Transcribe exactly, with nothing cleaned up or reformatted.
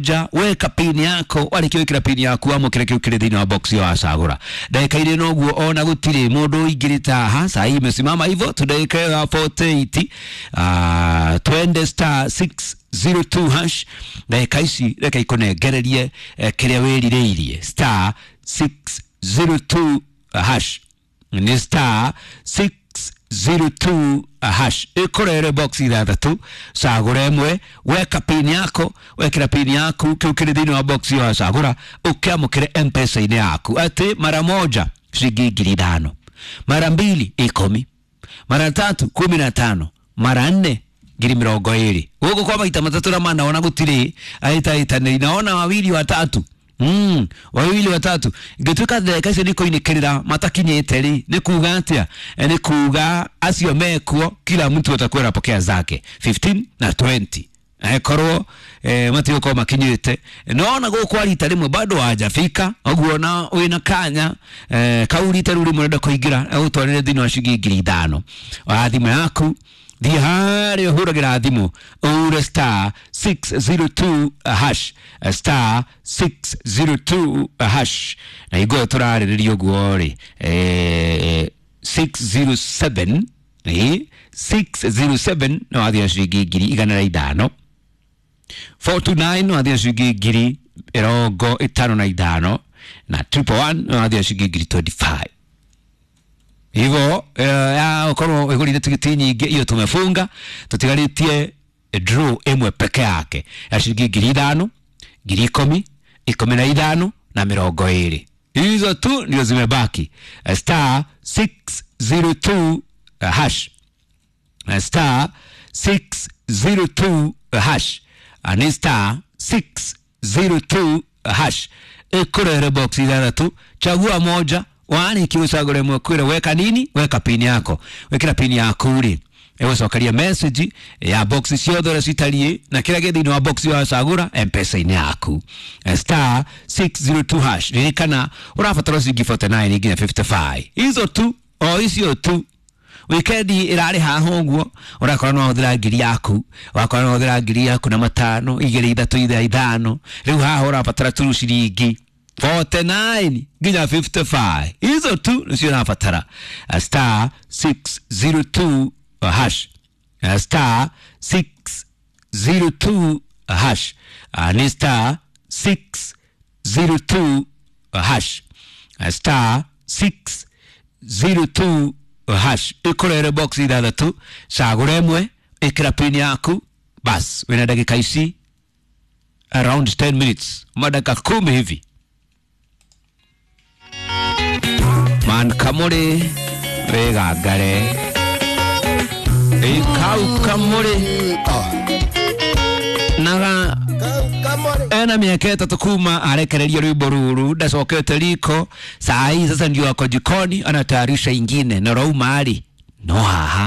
Ja, weka pini yako warĩkia gwĩkĩra pini yaku wamũkĩre kĩu kĩrĩ thĩinĩ wa box ĩyo wacagũra. Ndagĩka irĩ noguo ona gũtirĩ mũndũ ũingĩrĩte haha. Saa hii imesimama hivyo tu dakika ya arobaini na nane. Ah, twende star six zero two hash. Ndagĩka ici reke ikũnengererie eh, kĩrĩa wĩrirĩirie. Star six zero two hash, nĩ star six zero two hash, ĩkũrere box ithathatũ, cagũra ĩmwe, weka pini yako. Wekĩra pini yaku, kĩu kĩrĩ thĩinĩ wa box ĩyo wacagũra ũkĩamũkĩre M-Pesa-inĩ yaku atĩ mara moja ciringi ngiri ithano, mara mbili ikũmi, mara tatu kumi na tano, mara nne ngiri mĩrongo ĩrĩ. Gũkũ kwa maita matatũ na mana ona gũtirĩ ahĩtahĩtanĩri, naona wawili watatu. Mm, wawili watatu ngĩtuĩka ndagĩka icio nĩ kũinĩkĩrĩra matakinyĩte rĩ, nĩ kuga atĩa? Eh, nĩ kuga acio mekuo kila mtu atakuwa anapokea zake fifteen na twenty akorwo eh, matigũkorwo makinyĩte. Nona gũkũ rita rĩmwe bado hajafika ũguo na wĩna kanya eh, kau rita rĩu rĩmwe ũrenda kũingĩra agũtwarĩre thĩinĩ wa ciringi ngiri ithano wa thimũ yaku. Thiĩ harĩa ũhũragĩra thimũ ũre star six zero two hash, star six zero two hash. Na hingo ĩyo tũrarĩrĩria ũguo rĩ, eh, six zero seven, ĩ six zero seven no wathiĩ na ciringi ngiri igana rĩa ithano, four two nine no wathiĩ na ciringi ngiri mĩrongo ĩtano na ithano, na triple one no wathiĩ na ciringi ngiri twenty-five. Hivyo eh, ya ukorwo wĩgũrire tigiti nyingĩ iyo tumefunga, tutigarĩtie draw ĩmwe peke yake ya ciringi ngiri ithano, ngiri ikũmi, ikũmi na ithano na mĩrongo ĩrĩ. Hizo tu ndio zimebaki. Eh, star six zero two hash, Eh, star six zero two hash. Ah, ni star six zero two hash, ĩkũrehere box ithathatũ, chagua moja. Warĩkia gũcagũra ĩmwe, kwĩra weka nini? Weka pini yako. Wekĩra pini yaku rĩ, ĩgũcokeria message ya box ciothe ũrĩa citariĩ na kĩrĩa gĩ thĩinĩ wa box wacagũra M-Pesa-inĩ yaku. Eh, star six zero two hash. Ririkana ũrabatara ciringi mĩrongo ĩna na kenda nginya mĩrongo ĩtano na ithano, hizo tu, o icio tu. Wikendi ĩrarĩ haha ũguo, ũrakora no wahũthĩra ngiri yaku, wakora no wahũthĩra ngiri yaku na matano, igĩrĩ, ithatũ, itha ithano. Rĩu haha ũrabatara tu ciringi mĩrongo ĩna na kenda nginya mĩrongo ĩtano na ithano, hizo tu nĩcio ũrabatara. Eh, star six zero two hash, Eh, star six zero two hash. Ah, ni star six zero two hash, Eh, star six zero two hash, ĩkũrere box ithathatũ, cagũra ĩmwe, ĩkĩra pini yaku. Bas, wĩna ndagĩka ici around ten minutes, madakika kumi hivi. Man kamũrĩ wĩgangare ĩ kau kamũrĩ naga ena miaka ĩtatũ kuma arekereria rwimbo ruru, ndacokete riko. Saa hii sasa ndio ako jikoni anatayarisha ingine na rauma ari no haha.